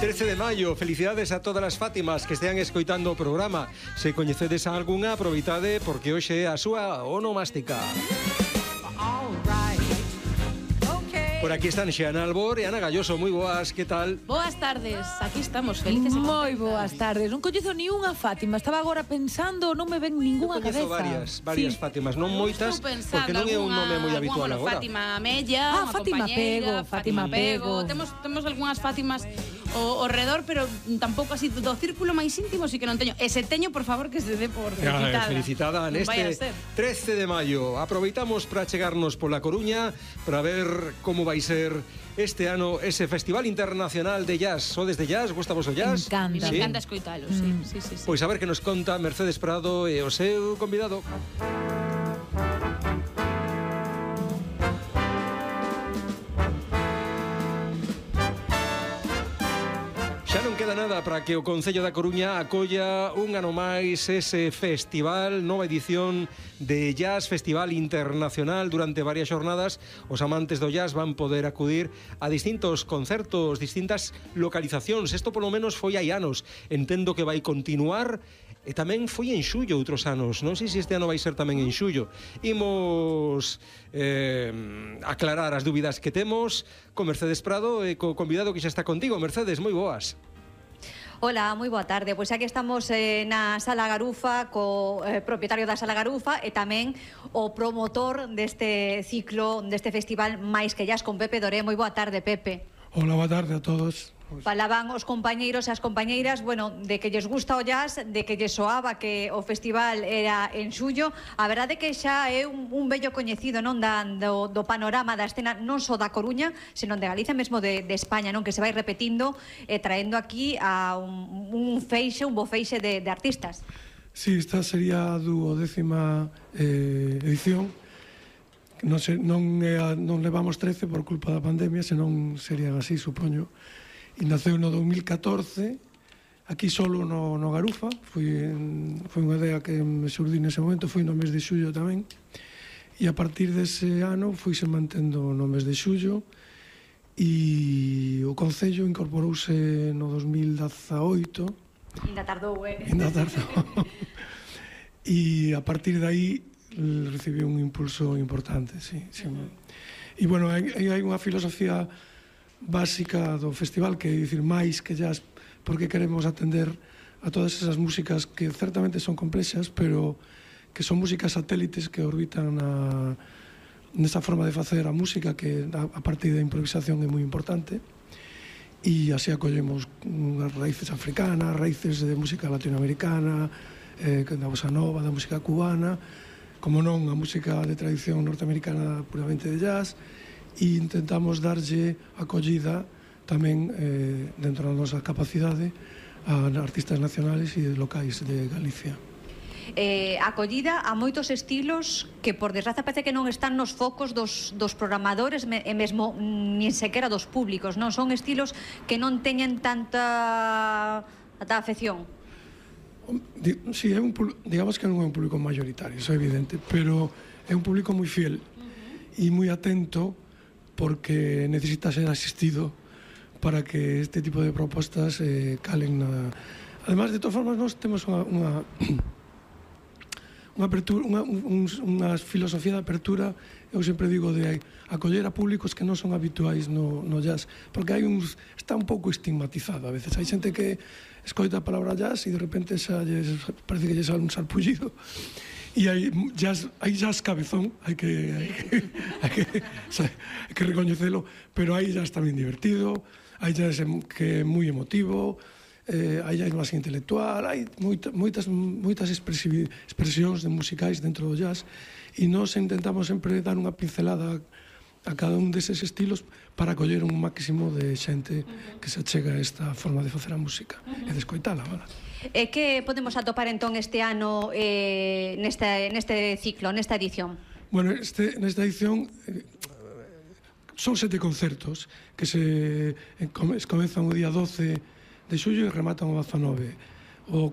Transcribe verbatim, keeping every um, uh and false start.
trece de maio, felicidades a todas as Fátimas que estean escoitando o programa. Se coñecedes a algunha, aproveitade porque hoxe é a súa onomástica. Por aquí están Xeana Albor e Ana Galloso. Moi boas, que tal? Boas tardes, aquí estamos, felices e Moi contentas. boas tardes. Non coñezo ni unha Fátima. Estaba agora pensando, non me ven ningunha cabeza. varias, varias Sí. Fátimas, non moitas, porque non é un nome moi habitual bueno, agora. Fátima Mella, Ah, unha Fátima compañeira, Pego, Fátima Pego. Temos temos algunhas Fátimas ao, ao redor, pero tampouco así do círculo máis íntimo, si que non teño. E se teño, por favor, que se dé por felicitada. Ah, felicitada Non vai a neste ser. trece de maio. Aproveitamos para chegarnos pola Coruña para ver como vai ser este ano ese Festival Internacional de Jazz. Sodes de jazz? Gusta vos o jazz? Encanta. Me Sí? encanta escoitalo, sí, sí, sí, sí. Pois a ver que nos conta Mercedes Prado e o seu convidado. Xa non queda nada para que o Concello da Coruña acolla un ano máis ese festival, nova edición de Jazz, Festival Internacional. Durante varias xornadas os amantes do jazz van poder acudir a distintos concertos, distintas localizacións. Isto polo menos foi hai anos. Entendo que vai continuar e tamén foi en xullo outros anos. Non sei se este ano vai ser tamén en xullo. Imos eh, aclarar as dúbidas que temos con Mercedes Prado e co convidado que xa está contigo. Mercedes, moi boas. Hola, moi boa tarde. Pois aquí estamos eh, na Sala Garufa co eh, propietario da Sala Garufa e tamén o promotor deste ciclo, deste festival Máis que Jazz, con Pepe Doré. Moi boa tarde, Pepe. Hola, boa tarde a todos. Falaban os compañeiros e as compañeiras, bueno, de que lles gusta o jazz, de que lles soaba que o festival era en xullo. A verdade que xa é un, un bello coñecido, non, da, do, do panorama da escena non só da Coruña, senón de Galicia, mesmo de, de España, non, que se vai repetindo e eh, traendo aquí a un, un feixe, un bo feixe de, de artistas. Sí, esta sería a duodécima eh, edición. Non, se, non, é a, non levamos trece por culpa da pandemia, senón serían así, supoño. E naceu no dos mil catorce, aquí solo no, no Garufa. Foi, en, foi unha idea que me surdi nese momento, foi no mes de xullo tamén. E a partir dese ano fuise mantendo no mes de xullo e o Concello incorporouse no dos mil dezaoito. Ainda tardou, eh? Ainda tardou. E a partir de aí recibiu un impulso importante, sí. sí. Uh-huh. E, bueno, hai, hai unha filosofía básica do festival, que é dicir máis que jazz, porque queremos atender a todas esas músicas que certamente son complexas, pero que son músicas satélites que orbitan na, nesa forma de facer a música, que a, a partir da improvisación é moi importante. E así acollemos unhas raíces africanas, raíces de música latinoamericana, eh, da bossa nova, da música cubana, como non a música de tradición norteamericana puramente de jazz, e intentamos darlle acollida tamén eh, dentro da nosa capacidade a artistas nacionales e locais de Galicia. Eh, acollida a moitos estilos que por desgraza parece que non están nos focos dos, dos programadores me, e mesmo nin sequera dos públicos, non? Son estilos que non teñen tanta, tanta afección. Si, sí, é un, digamos que non é un público mayoritario, iso é evidente, pero é un público moi fiel e moi atento, porque necesita ser asistido para que este tipo de propostas eh, calen na... Además, de todas formas, nós temos unha, unha, unha, apertura, unha, un, unha filosofía de apertura, eu sempre digo, de acoller a públicos que non son habituais no, no jazz, porque hai uns, está un pouco estigmatizado a veces. Hai xente que escoita a palabra jazz e de repente xa lles, parece que lle sale un sarpullido. E hai jazz, hai jazz cabezón, hai que, hai que, hai que, hai que recoñecelo, pero hai jazz tamén divertido, hai jazz que é moi emotivo, eh, hai jazz máis intelectual, hai moita, moitas, moitas expresións de musicais dentro do jazz, e nós intentamos sempre dar unha pincelada a cada un deses estilos para coller un máximo de xente que se achega a esta forma de facer a música e de escoitala, ¿verdad? E que podemos atopar entón este ano eh, neste, neste ciclo, nesta edición? Bueno, este, nesta edición eh, son sete concertos que se eh, comezan o día doce de xullo e rematan o dezanove. O